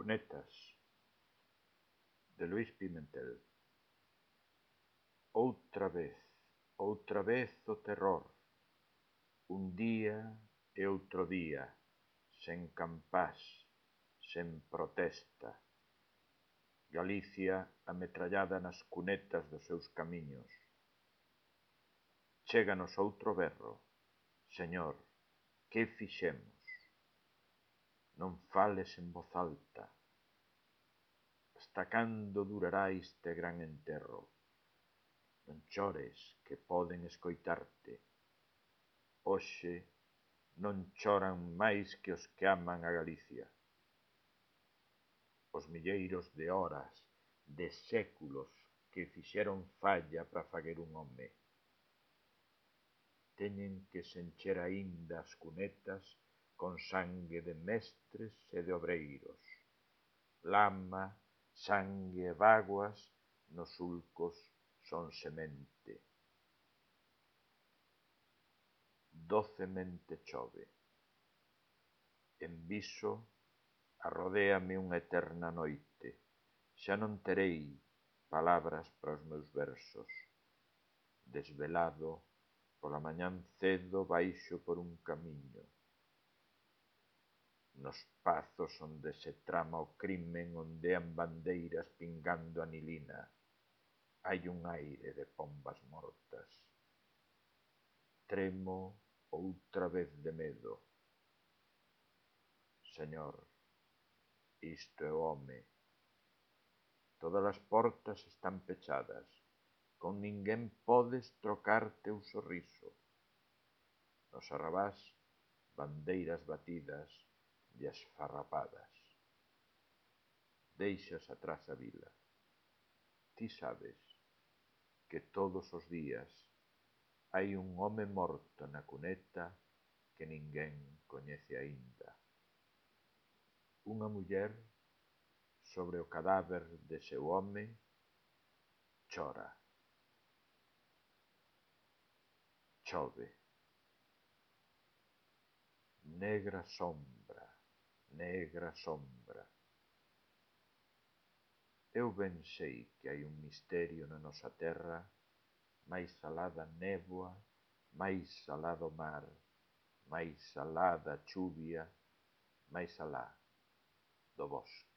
Cunetas, de Luís Pimentel. Outra vez o terror, un día e outro día, sen campás, sen protesta. Galicia ametrallada nas cunetas dos seus camiños. Chéganos outro berro. Señor, que fixemos? Non fales en voz alta. Hasta cando durará este gran enterro? Non chores, que poden escoitarte. Hoxe non choran máis que os que aman a Galicia. Os milleiros de horas, de séculos que fixeron falla para faguer un home. Teñen que se encher aínda as cunetas con sangue de mestres e de obreiros. Lama, sangue e bágoas nos sulcos son semente. Docemente chove. En Viso arrodéame unha eterna noite. Xa non terei palabras para os meus versos. Desvelado, pola mañán cedo baixo por un camiño. Nos pazos onde se trama o crimen ondean bandeiras pingando anilina. Hai un aire de pombas mortas. Tremo outra vez de medo. Señor, isto é o home. Todas as portas están pechadas. Con ninguén podes trocarte o sorriso. Nos arrabás, bandeiras batidas e esfarrapadas. Deixas atrás a vila. Ti sabes que todos os días hai un home morto na cuneta que ninguén coñece aínda. Unha muller sobre o cadáver de seu home chora. Chove. Negra sombra, negra sombra. Eu ben sei que hai un misterio na nosa terra, máis alá da néboa, máis alá do mar, máis alá da chuvia, máis alá do bosque.